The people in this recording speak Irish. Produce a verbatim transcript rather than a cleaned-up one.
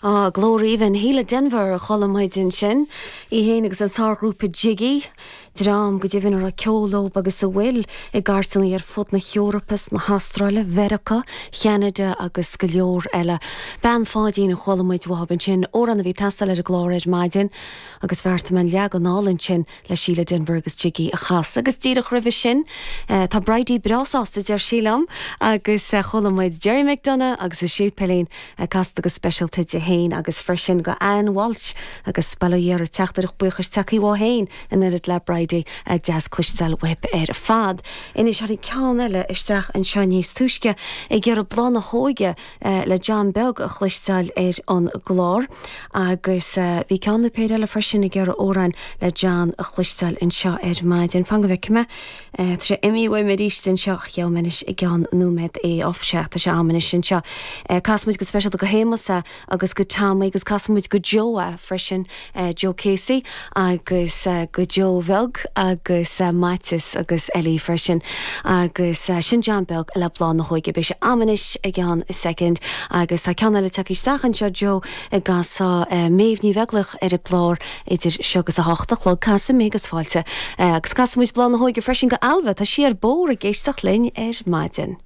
Á, glór aoibhinn, Síle Denvir a chuala muid ansin, í féin agus an sárghrúpa Jiggy, dream go deimhin a raibh ceol leo agus a bhfuil i gcairteanna ar fud na hEorpa, na hAstráile, Mheiriceá, Cheanada agus go leor eile. Bean Pháidín a chuala muid uathub ansin, amhrán a bhí ag teastáil ar an gclár ar maidin agus bheartaigh mé an leagan álainn sin le Síle Denvir agus Jiggy a chasadh. Agus díreach roimhe sin tá Bridie breá sásta deir sí liom agus chuala muid Gerry McDonagh agus An Séipéilín casta go speisialta di féin agus freisin go Anne Walsh agus Baile Dhéara teachtaireacht buíochais tagtha uaithi féin in oiread le Bridie deas cloisteáil uaibh ar fad. Anois tháinig ceann eile isteach anseo níos túisce ag iarraidh Bláth na hÓige le John Beag a chloisteáil ar an gclár agus bhí ceann nó péire eile freisin ag iarraidh amhráin le John a chloisteáil anseo ar maidin. Fan go bhfeicfidh mé Tá sé imithe uaim arís anseo gheobhaidh mé anois i gceann nóiméad é off sé tá sé agam anois anseo. Casfaidh muid go speisialta go Shéamus agus go Tommy agus casfaidh muid go Joe freisin Joe Casey agus go Joe Bheag agus Maitias agus Ellie freisin agus sin John Beag le Bláth na hÓige beidh sé agam anois i gceann second agus tá ceann eile tagtha isteach anseo Joe ag casadh Méabh Ní Bheaglaoich ar an gclár idir seo agus a hocht a chlog casfaidh mé agus fáilte agus casfaidh muid Bláth na hÓige freisin go Alva tá sí ar bord ag éisteacht linn ar maidin.